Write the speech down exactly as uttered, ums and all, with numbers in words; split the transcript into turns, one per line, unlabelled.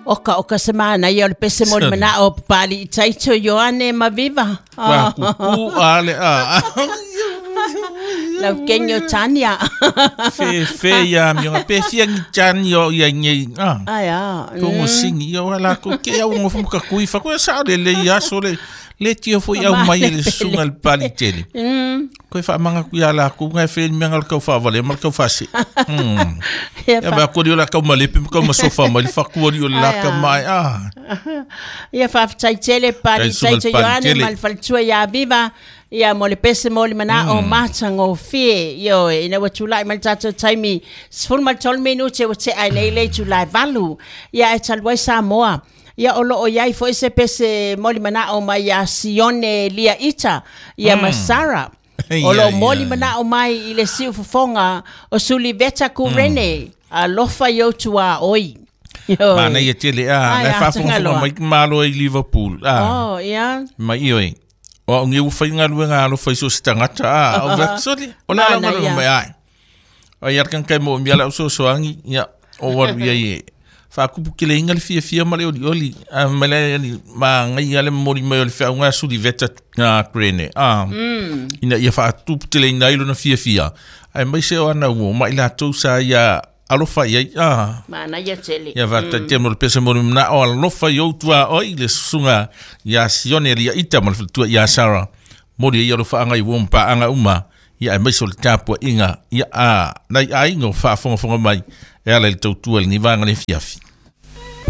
Oka oka se mana ia o le pese mo le mana o pali i taito Ioane ma viva.
Wa kuku ale a.
Lau kenyo tania.
Fe fe ia mi nga pe fia ni tani o ia ngi a.
Ai a.
Kongo singi ia wala ko ke au ngo fuka kui fa ko sa le le ia so le le tio foi au mai le sunga le pali tele.
Mm.
Ko fa manga ku ia la ku ngai fe mi ngal kau fa vale mal kau fa si. Mm.
Ia
Ya ba ko la kau male pe kau masofa mai fa ku ri o la ka mai a.
Ia faafetai tele pali
Tai sunga le
taito
pali
Ioane
tele.
ma le faletua ia Viva. Ia mo le pese mo le mana o matagofie. Ioe, ina ua tulai mai le tatou taimi sefulu ma le tolu minute ua tea ai nei le itulai valu. Ia e talu ai Samoa. Ia o loo iai foi se pese mo le manao mai ia Sione Lia Ita, ia ma Sara. O loo moli manao mai i le siufofoga o Suliveta Kurene, alofa i ou tuaoi. Ioe.
Mana ia tele a,
Ai,
nai
a,
faafogafoga
tagaloa.
mai malo i Liverpool. A.
Oh, ia.
Mai ioe. O au ngi ufai ngaluega alofa i so se tagata a. O vetsoli. O la la
Mana
ngaluega
ia.
mai ai. O ia kan kai mo mi ala so so angi ia o waru ia ie. Whaakupu ke le inga le fia fia ma le oli oli. A mai le ali ma ngai ale mori mai o le whiaunga suli veta ngā krene. A,
Mm.
ina ia whaatupu te le ina ilo na fia fia. Ai mai se o ana uo, mai la sa ia alofa ia. A,
Mana ia tele.
ia whata te mo le pese mori mna o alofa i outua oi le susunga ia Sione lia ita ma le whitua ia Sara. Mori ia alofa anga i uo mpa anga uma. Ia ai mai so le tāpua inga. Ia a, nai a inga o whaafongafonga mai. E ala i le tautua le nivanga le fiafi.